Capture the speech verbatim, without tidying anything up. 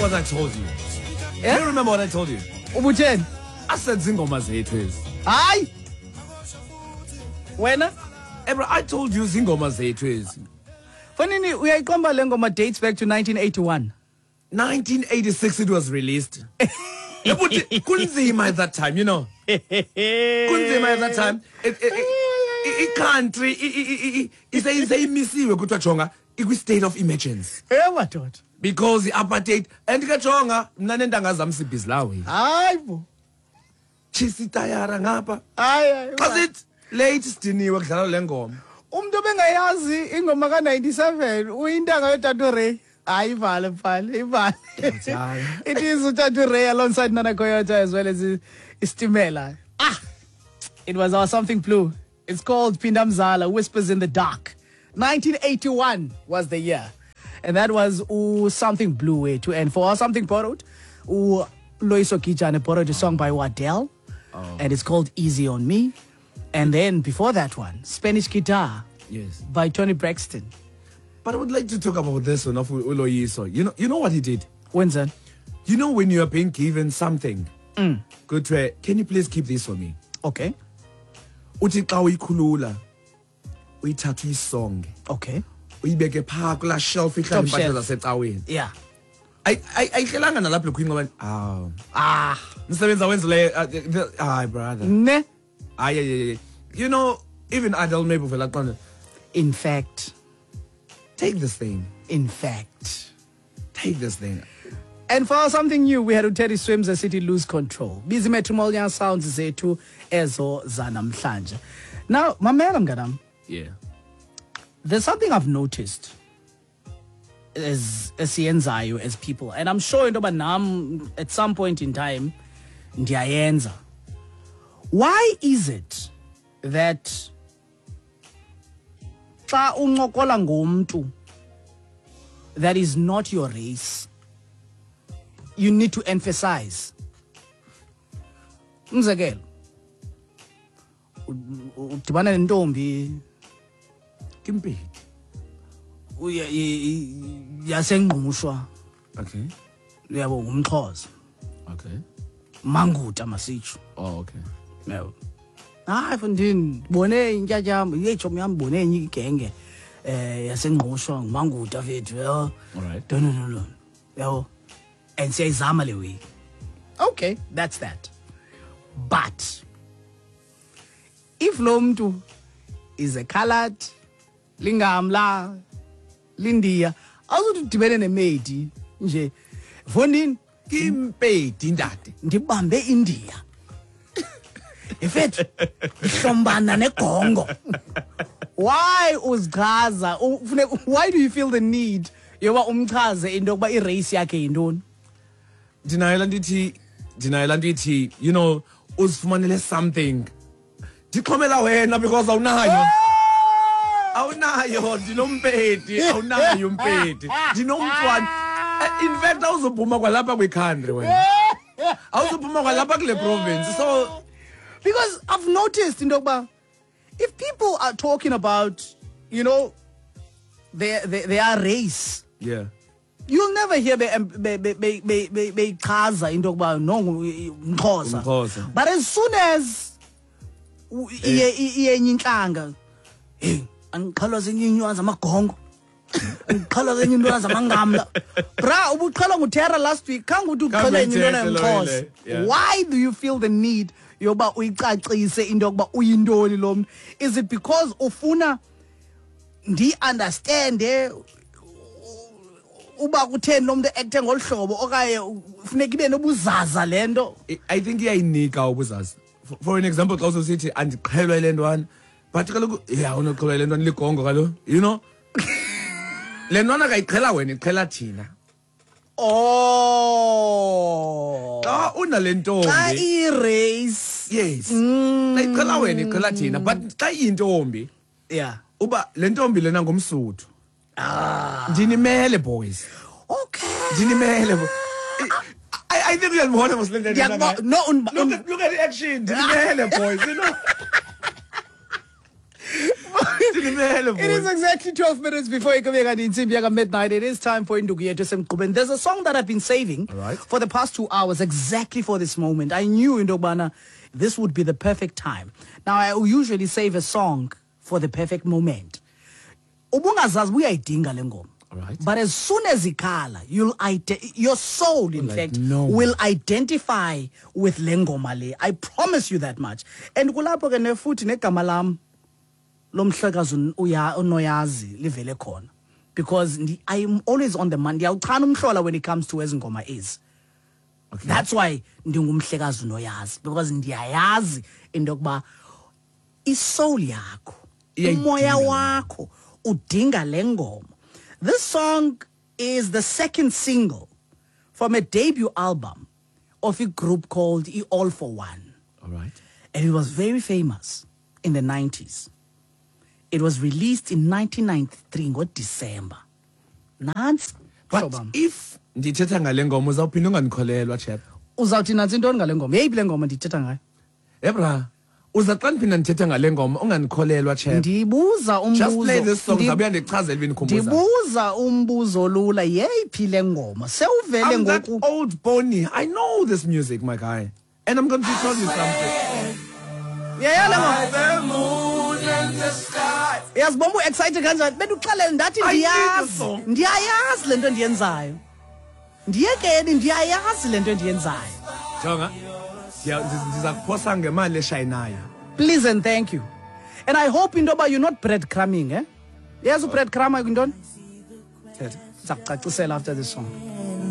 what I told you? Yeah? Do you remember what I told you? Ubutheni? I said zingoma zethu ezi. Hayi. Wena? Hey bro, I told you zingoma zethu ezi. Fanini uyayiqomba le ngoma dates back to nineteen eighty-one. nineteen eighty-six it was released. Kunzima at that time, you know. Kunzima at that time. It it it country iseyimisiwe kuthiwa jonga ikwi state of emergency. Eh madoda. Because the apartheid and ke jonga mna nentanga zam sibhizi lawe. Hayi bo. Chisi tayara ngapha. Hayi hayi. Xa sithi late sidiniwe kudlala le ngoma. Umuntu obengayazi ingoma ka ninety-seven uyintanga yoTatu Ray. Hayi ivale mfana, ivale. It is uTatu Ray alongside Nana Koyota as well as Istimela. Ah. It was our Something Blue. It's called Pindamzala, Whispers in the Dark. nineteen eighty-one was the year. And that was ooh, Something Blue way to end. For our Something Borrowed, ooh, Loiso Kijane borrowed a song by Waddell. Oh. And it's called Easy on Me. And then before that one, Spanish Guitar, yes, by Tony Braxton. But I would like to talk about this one of Uloyiso. You know, you know what he did? When's that? You know when you are being given something, mm. good to, can you please keep this for me? Okay. Uthi xa uyikhulula, uyithatha uyisonge. Okay. Uyibeke pha kula shelf ihlala impahla zasecaweni. Yeah. I I ayihlelanga nalapho lokhu ah ah umsebenzi awenzileyo hayi brother. Ne? Aye, aye, aye. You know, even adult maybe vela qonda. In fact, take this thing. In fact, take this thing. And for something new, we had uTeddy Swims as City Lose Control. Busy Matrimonial Sounds zethu ezo zanamhlanje. Now, mamela mnganam. Yeah. There's something I've noticed as esiyenzayo as people, and I'm sure into yoba nam at some point in time ndiyayenza. Why is it that xa uncokola ngomntu that is not your race, you need to emphasize? Umzekelo, udibana nentombi Kimpedi yaseNgqushwa. Okay. Uyabo ngumXhosa. Okay. Manguta masitsho. Oh, okay. Yabo. Hayi mfondini, bone intyatyambo, yetshomi yam bone enye igenge eh yaseNgqushwa nguManguta fethu, yabo. All right. No no no. Yabo. And siyayizama le way. Okay, that's that. But if lo mntu is a colored, lingamla, lindiya, awuzuthi udibene nemedi nje. Mfondini, Kimpedi ndade. Ndibambe India. Efethu hlombana negongo. Why uzichaza? Why do you feel the need yoba umchaze into yokuba i-race yakhe yintoni? Ndinayo laa nto ithi, ndinayo laa nto ithi, you know, uzifumanele something. Ndixhomela wena because awunayo. Awunayo, ndinompedi, awunayo umpedi. Ndinomntwana. In fact, awuzophuma kwalapha kwi-country wena. Awuzophuma kwalapha kule province. So because I've noticed into yokuba if people are talking about, you know, their their, their race, yeah, you'll never hear beyichaza into yokuba no ngumXhosa. But as soon as iye enye intlanga, hey, andiqhelwa zenye iinywana zamagongo, andiqhelwa zenye iintwana zamangamla. Bra, ubuqhelwa nguTerra last week, khange uthi uqhelwe enye intwana yomXhosa. Why do you feel the need yoba uyicacise into yokuba uyintoni lo mntu? Is it because ufuna ndi-understande uba kutheni lo mntu ekthe ngolu hlobo okanye funeka ibe nobuzaza le nto? I think iyayinika ubuzaza. For an example, xa usosithi andiqhelwa yile ntwana, but kaloku yeah, unoqhelwa yile ntwana ligongo kaloku, you know. Le ntwana kayiqhela wena, iqhela thina. Oh. Xa unale ntombi. Xa i-race. Yes. Xa iqhela wena, iqhela thina, but xa iyintombi, yeah, uba le ntombi lena ngumSuthu. Ah. Ndinimele boys. Okay. Ndinimele. I, I think uyalibona mos le nto. No, look at, look at the action. Ndinimele boys, you know. Ndimele, It is boy. exactly twelve minutes before ikube kanti intsimbi yaka midnight. It is time for Induku Yethu Esemgqubeni. There's a song that I've been saving All right. for the past two hours exactly for this moment. I knew into yokubana this would be the perfect time. Now, I usually save a song for the perfect moment. Ubungazazi uyayidinga le ngoma. All right. But as soon as ikhala, you'll ide- your soul, in Like fact, no. will identify with le ngoma le. I promise you that much. And kulapho ke nefuthi negama lam lomhlekazi un- uya unoyazi livele khona, because ndi- I am always on the money. Ndiyawuchana umhlola when it comes to ezi ngoma ezi. Okay. That's why ndingumhlekazi unoyazi, because ndiyayazi into yokuba isoul yakho, Iyayidinga umoya le wakho udinga le ngoma. This song is the second single from a debut album of a group called I All for One. All right. And it was very famous in the nineties. It was released in nineteen ninety-three ngoDecember. Nantsi. But hlobo bam. If ndithetha ngale ngoma, uzawuphinda ungandikholelwa, chap. Uzawuthi nantsi intoni ngale ngoma? Yeyiphi le ngoma ndithetha ngayo? Ebra, uza xa ndiphinda ndithetha ngale ngoma ungandikholelwa, chap. Ndibuza Just play umbuzo. this song, Ndi- zabuya ndichazele uba indikhumbuza. Ndibuza umbuzo lula, yeyiphi le ngoma? Sewuvele I'm that ngoku. Old pony. I know this music, my guy. And I'm going to tell you something. Yeya le ngoma. The moon and the sky. Uyazibona u-excited kanjani? Benduxelele ndathi I need the ndiyazi. song. Ndiyayazi le nto ndiyenzayo. Ndiyekeni, ndiyayazi le nto ndiyenzayo. Jonga. Ndiya- ndiz- Ndiza kuphosa ngemali eshayinayo. Please and thank you. And I hope into yoba you're not breadcrumbing, eh? Yazi ubreadcrumb yintoni? Thetha. Ndiza kucacisela after this song.